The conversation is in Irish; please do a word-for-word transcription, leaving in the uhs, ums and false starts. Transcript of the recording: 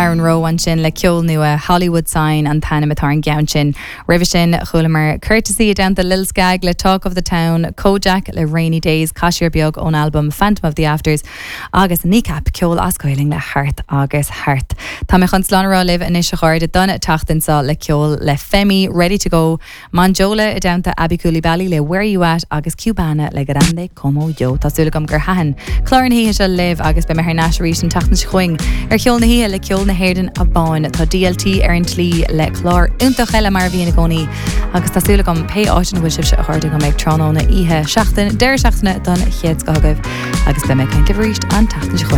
Darren Rowe ansin le ceol nua Hollywood Sign an t-ainm atá ar an gceann sin. Roimhe sin chualamar Courtesy down the Lil Skag le Talk of the Town, Kojaque le Rainy Days, Caiseal Beag ón album Phantom of the Afters, agus Kneecap ceol as Gaeilge le Hart agus Hart. Tá mé chun slán a rá libh anois a chairde don tseachtain seo le ceol le Femi ready to go, Manjola i dteannta Aby Coulibaly le Where You At agus Cubana le Grande Como Yo Tá súil agam gur thaitin clár na hoíche seo libh agus beidh mé thar n-ais arís an tseachtain seo chugainn ar Cheol na hOíche le ceol na hÉireann amháin tá DLT ar an tslí le clár iontach eile mar a bhíonn i gcónaí agus tá súil agam pé áit ina bhfuil sibhse a chairde go mbeidh tráthnóna oíche seachtain deireadh seachtaine don chéad scoth agaibh agus beidh mé ag caint arís an tseachtain seo chugainn.